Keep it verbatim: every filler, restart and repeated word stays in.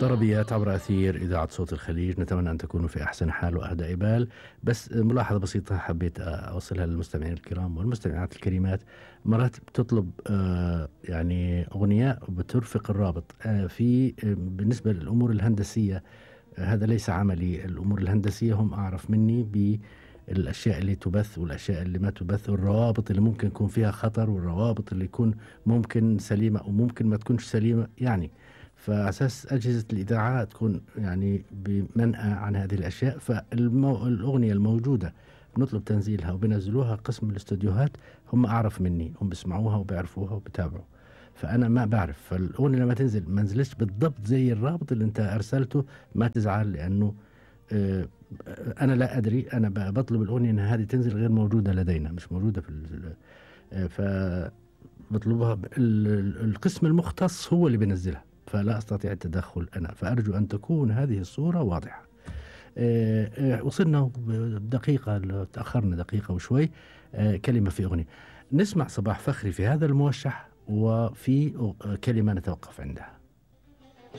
طربيات عبر أثير إذاعة صوت الخليج، نتمنى أن تكونوا في أحسن حال وأهدى بال. بس ملاحظة بسيطة حبيت أوصلها للمستمعين الكرام والمستمعات الكريمات. مرات بتطلب آه يعني أغنية بترفق الرابط آه في آه بالنسبة للأمور الهندسية. آه هذا ليس عملي. الأمور الهندسية هم أعرف مني بالأشياء اللي تبث والأشياء اللي ما تبث، والروابط اللي ممكن يكون فيها خطر، والروابط اللي يكون ممكن سليمة أو ممكن ما تكونش سليمة يعني. فأساس أجهزة الإذاعة تكون يعني بمنأى عن هذه الأشياء. فالأغنية الموجودة بنطلب تنزيلها وبنزلوها قسم الاستوديوهات، هم أعرف مني، هم بيسمعوها وبيعرفوها وبتابعوا. فأنا ما بعرف. فالأغنية لما تنزل ما نزلش بالضبط زي الرابط اللي أنت أرسلته ما تزعل، لأنه آه أنا لا أدري. أنا بطلب الأغنية أن هذه تنزل غير موجودة لدينا، مش موجودة في آه فبطلبها. القسم المختص هو اللي بينزلها، فلا أستطيع التدخل أنا. فأرجو أن تكون هذه الصورة واضحة. أه أه وصلنا بدقيقة، تأخرنا دقيقة وشوي. أه كلمة في أغنية نسمع صباح فخري في هذا الموشح، وفي كلمة نتوقف عندها.